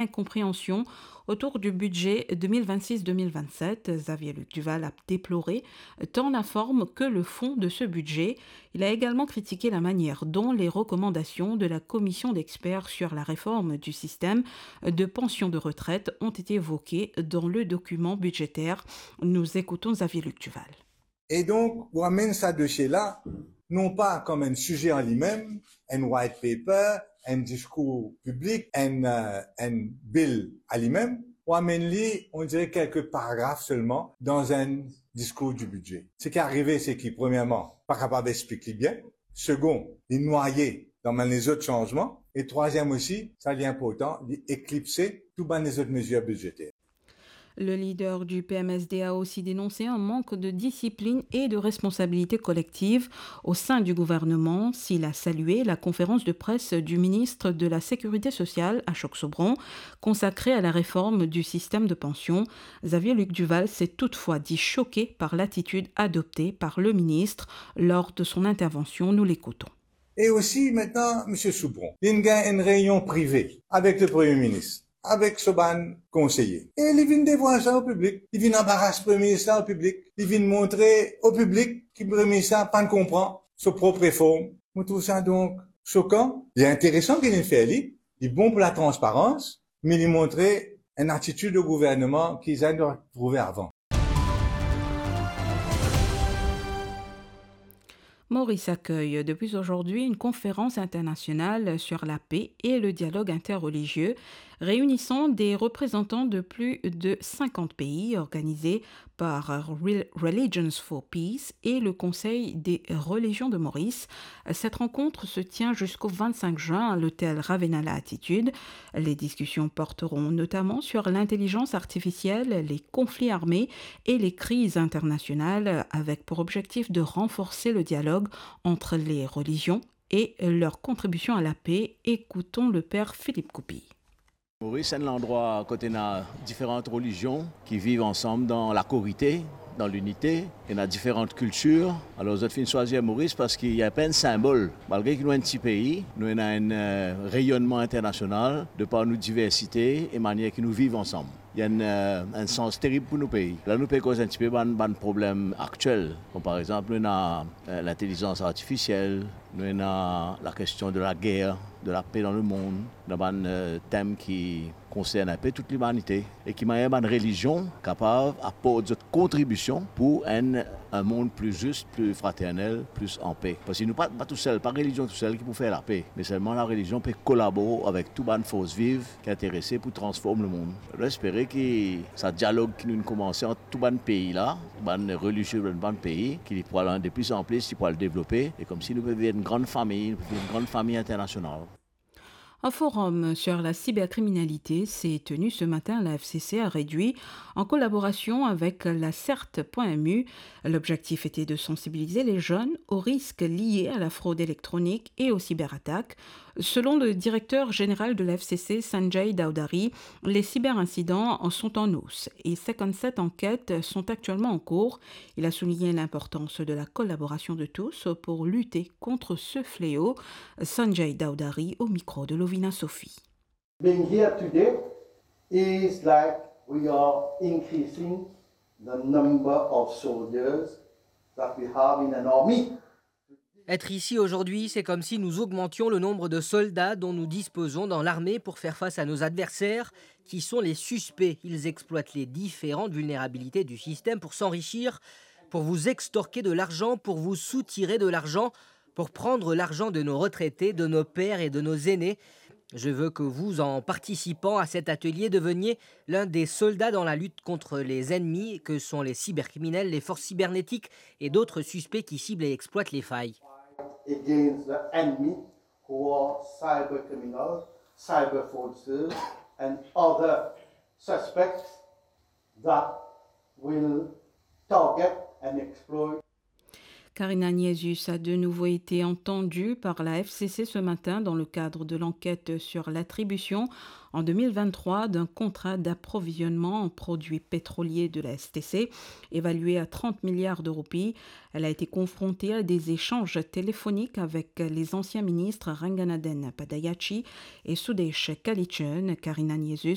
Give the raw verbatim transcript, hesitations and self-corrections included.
incompréhension autour du budget deux mille vingt-six deux mille vingt-sept. Xavier Luc Duval a déploré tant la forme que le fond de ce budget. Il a également critiqué la manière dont les recommandations de la commission d'experts sur la réforme du système de pension de retraite ont été évoquées dans le document budgétaire. Nous écoutons Xavier Luc Duval. E donk, ou amenn sa dosie la, non pa kom enn size an limem, enn white paper, enn diskour piblik, enn, euh, enn bill a limem, ou amenn li, on dirait, quelques paragraphes seulement dans un discours du budget. Seki arive, seki, premierman, pa kapav explik li bien. Segon, li nwaye dan bann lezot sanzman. E trwaziem osi, sa li inportan, li eklipse tou bann lezot mezir bidzeter. Le leader du P M S D a aussi dénoncé un manque de discipline et de responsabilité collective au sein du gouvernement. S'il a salué la conférence de presse du ministre de la Sécurité sociale, Ashok Sobran, consacrée à la réforme du système de pension, Xavier Luc Duval s'est toutefois dit choqué par l'attitude adoptée par le ministre lors de son intervention. Nous l'écoutons. E osi, aster, Misie Sobran, li gagn enn reynion prive avek le Premie Minis, avek so bann konseye. E li vinn devwar sa o piblik, li vinn anbaras Premie Minis la o piblik, li vinn montre o piblik ki Premie Minis la pa'nn konpran so prop reform. Mo trouv sa donk sokan. Li interesan ki li fer li, li bon pou latransparans, me li montre enn atitid o gouvernman ki zame nou trouve avan. Maurice accueille depuis aujourd'hui une conférence internationale sur la paix et le dialogue interreligieux, réunissant des représentants de plus de cinquante pays, organisée par Re-, Religions for Peace et le Conseil des religions de Maurice. Cette rencontre se tient jusqu'au vingt-cinq juin à l'hôtel Ravenna La Altitude. Les discussions porteront notamment sur l'intelligence artificielle, les conflits armés et les crises internationales, avec pour objectif de renforcer le dialogue entre les religions et leur contribution à la paix. Écoutons le père Philippe Coupy. Moris, se enn landrwa kot ena diferan relizion ki viv ansam dan lakorite, dan linite, ena diferan kiltir. Alor, zot finn swazir Moris parski li enn pe enn sinbol. Malgre ki nou enn ti pei, nou ena enn, eh, reyonnman internasional de par nou diversite e manier ki nou viv ansam. Li enn, eh, enn sans terib pou nou pei. La, nou pe koz enn tipe bann, bann problem aktiel, kom par exanp, nou ena, eh, lintelizans artifisiel, nou ena lakestion de lager, de lape dan lemond, dan bann, eh, tem ki konsern enpe tou limanite, e ki manier bann relizion kapav aport zot kontribision pou enn, enn mond pli zis, pli fraternel, pli an pe. Parski nou pa, pa tousel, pa relizion tousel ki pou fer lape, me selman larelizion pe kolabor avek tou bann fors viv ki interese pou transform lemond. Nou espere ki sa dialog ki nou'nn koumanse ant tou bann pei la, bann relizie, bann, bann pei, ki li pou al de pli an pli, li pou al devlope, e komsi nou pe vinn enn gran fami, nou pe vinn enn gran fami internasional. Un forum sur la cybercriminalité s'est tenu ce matin à la F C C à Réduit, en collaboration avec la cert point M U. L'objectif était de sensibiliser les jeunes aux risques liés à la fraude électronique et aux cyberattaques. Selon le directeur général de la F C C, Sanjay Dawdary, les cyberincidents sont en hausse et cinquante-sept enquêtes sont actuellement en cours. Il a souligné l'importance de la collaboration de tous pour lutter contre ce fléau. Sanjay Dawdary au micro de Lovina Sophie. Being here today is like we are increasing the number of soldiers that we have in an army. Être ici aujourd'hui, c'est comme si nous augmentions le nombre de soldats dont nous disposons dans l'armée pour faire face à nos adversaires, qui sont les suspects. Ils exploitent les différentes vulnérabilités du système pour s'enrichir, pour vous extorquer de l'argent, pour vous soutirer de l'argent, pour prendre l'argent de nos retraités, de nos pères et de nos aînés. Je veux que vous, en participant à cet atelier, deveniez l'un des soldats dans la lutte contre les ennemis que sont les cybercriminels, les forces cybernétiques et d'autres suspects qui ciblent et exploitent les failles. Against the enemy who are cyber criminals, cyber fraudsters, and other suspects that will target and exploit. Karine Agnieszus a de nouveau été entendue par la F C C ce matin dans le cadre de l'enquête sur l'attribution en deux mille vingt-trois d'un contrat d'approvisionnement en produits pétroliers de la S T C, évalué à trente milliards de roupies. Elle a été confrontée à des échanges téléphoniques avec les anciens ministres Ranganathan Padayachee et Sudesh Kalichern. Karine Agnieszus